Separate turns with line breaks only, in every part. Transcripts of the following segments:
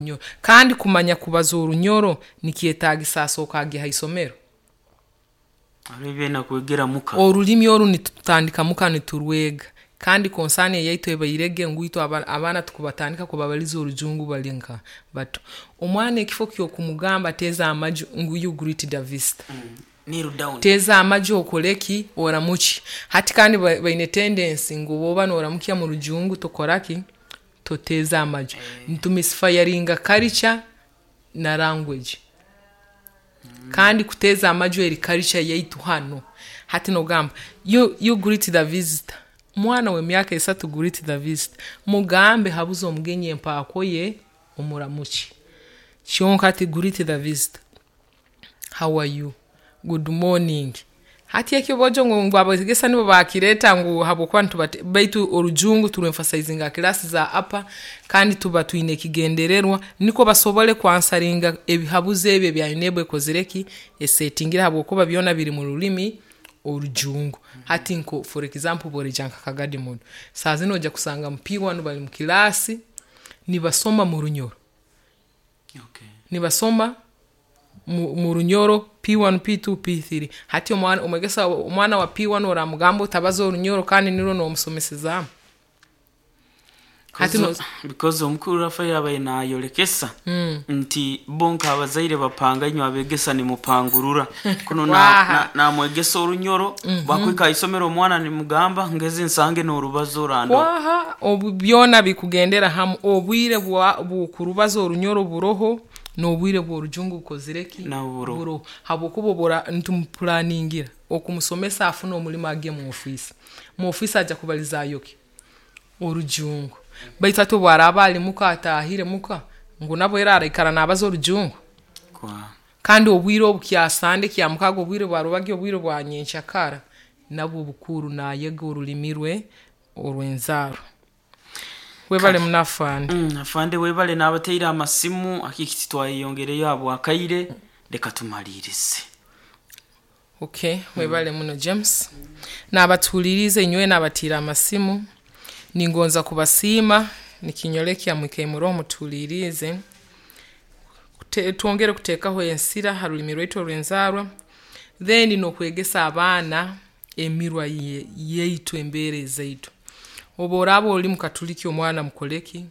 Orunyoro. Kandi kumanya kubaza Orunyoro nikyetaagisa asooka agye ha isomero?
Hariho ebi aine kwegera muka.
Orulimi oru nitutandika muka niturwega. Kandi concern eyaitu ebairege ngu itwe abaana tukubatandika kubabaliza Orujungu bali nka bato. Omwana ekifo ky'okumugamba teeza amaju ngu you greet the visitor.
Kneel down.
Teeza amaju okole ki? Oramukye. Hati kandi baine tendency ngu obu oba nooramukya mu Rujungu tokora ki? Toteeza amaju. Nitumisfayaringa culture na language. Kandi kuteeza amaju eri culture yaitu hanu. Hati noogamba you greet the visitor. Mwana w'emyaka 3 greet the visitor. Mugambe habuza omugenyi empaako ye omuramukye. Kyonka hati greet the visitor. How are you? Good morning. Hati eki boojo ngu abeegesa nibo baakireeta ngu habwokuba nitubate baitu Orujungu turwemphasizinga ha kilaasi za upper kandi tuba twine ekigendererwa nikwo basobole kwansweringa ebihabuzo ebi ebya UNEB ekozire ki? Esetingire habwokuba byona biri mu rulimi Orujungu. Hati nko for example obu oraija nka Kagadi Model, saaha zinu noija kusanga mu P1 bali mu kilaasi nibasoma mu Runyoro. Nibasoma mu Runyoro P1, P2, P3. Hati omwana omwegesa omwana wa P1 oraamugamba otabaza Orunyoro kandi nirwo noomusomesezaamu? Hati
Because omukuru Rafael abaire naayolekesa nti bo nk'abazaire bapanga, inywe abeegesa nimupangurura. Kunu
Waaha.
Naamwegesa Orunyoro, bwakuhika ha isomero omwana nimugamba ngeze nsange n'orubazo orandora.
Kwaha, obu byona bikugendera hamu. Obwire bw'okurubaza Orunyoro buroho, n'obwire bw'Orujungu bukozire ki?
Nabwo buroho.
Buroho. Habwokuba obu ora nitumupulaningira okumusomesa afune omulimo agye mu ofiisi. Mu ofiisi aja kubalizaayo ki? Orujungu. Baitu hati obu araaba ali muka ataahire muka, ngu nabwo era araikara naabaza Orujungu?
Kwa.
Kandi obwire obu kya Sande, Kyamukaaga, obwire bwa rwebagyo, obwire bwa nyenkyakara, nabwo bukuru naayega orulimi rwe orw'enzaarwa. Webale muno afande.
Afande webale n'abateire amasimu akiki titwayeyongereyo habw'akaire, leka tumaliirize.
Okay, webale muno James. N'abatuhuliiriize inywena abatiire amasimu, ningonza kubasiima nikinyolekya mwikaire muroho mutuhuliiriize. Twongere kuteekaho ensira ha rulimi rwaitu orw'enzaarwa, then n'okwegesa abaana emirwa yaitu, embeera ezaitu. Obu oraaba oli Mukatuliki omwana mukole ki?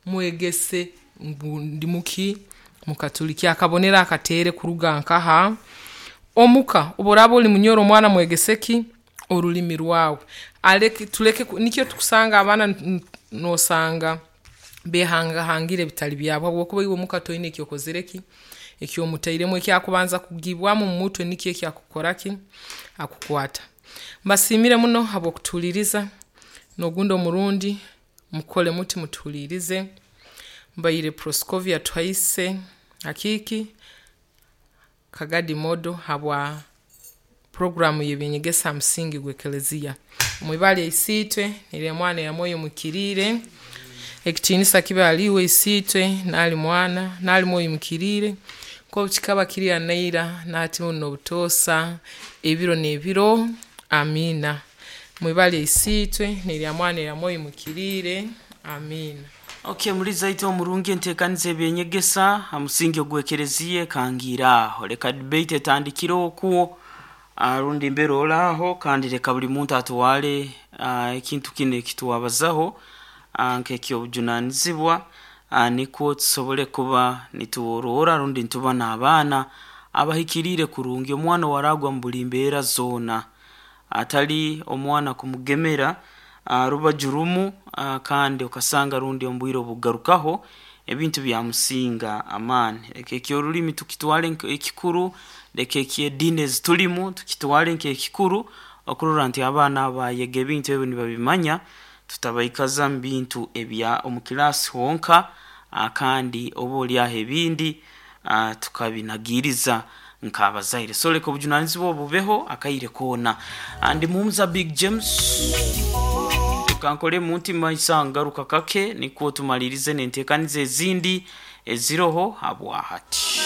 Mwegese ngu ndi muki? Mukatuliki. Akabonero akateere kuruga nkaha? Omuka. Obu oraaba oli Munyoro omwana mwegese ki? Orulimi rwawe. Aleke tuleke nikyo tukusanga abaana noosanga beehangahangire ebitali byabo habwokuba iwe omuka toine eki okozire ki? Eki omutairemu, ekyakubanza kugiibwamu mu mutwe nikyo eki akukora ki? Akukwata. Mbasiimire muno habw'okutuhuliiriza, n'ogundi omurundi mukole muti mutuhuliirize. Mbaire Proscovia Tuhaise Akiiki, Kagadi Model habwa puroguraamu y'eby'enyegesa ha musingi gw'Ekeleziya. Mwibara lya Isiitwe, n'erya Mwana n'erya Mwoyo Muhikiriire, ekitiinisa kibe hali iwe Isiitwe, n'ahali Mwana, n'ahali Mwoyo Muhikiriire, nk'oku kikaba kiri ira naira, na hati bunu n'obutoosa, ebiro n'ebiro, amiina. Mwibara lya Isiitwe, n'erya Mwana, n'erya Mwoyo Muhikiriire, amiina.
Okay, muliza itwe omurungi, enteekaniza eby'enyegesa ha musingi ogw'ekereziya ekangiire aho. Leka debate etandikire okwo, rundi mbere ori aho, kandi leka buli muntu atwale ekintu kinu eki twabazaho nk'eky'obujunaanizibwa, nikwo tusobole kuba nituroora rundi nituba n'abaana abahikiriire kurungi. Omwana ow'araagwa mu buli mbeera zoona, atali omwana kumugemera rubaju rumu kandi okasanga rundi omu bwire obukugarukaho ebintu byamusinga amaani. Leka eky'orulimi tukitwale nk'ekikuru, leka eky'ediini ezitulimu tukitwale nk'ekikuru okurora nti abaana abo baayega ebintu ebi nibabimanya, tutabaikaza mu bintu ebya omu kilaasi honka, kandi oba oli aho ebindi tukabinagiiriza nk'abazaire. So leka obujunaanizibwa obu bubeho akaire koona. Ndi Muhumuza Big James. Leka nkolemu nti maiso ngaruka kake nikwo tumaliirize n'enteekaniza ezindi eziroho habwa hati.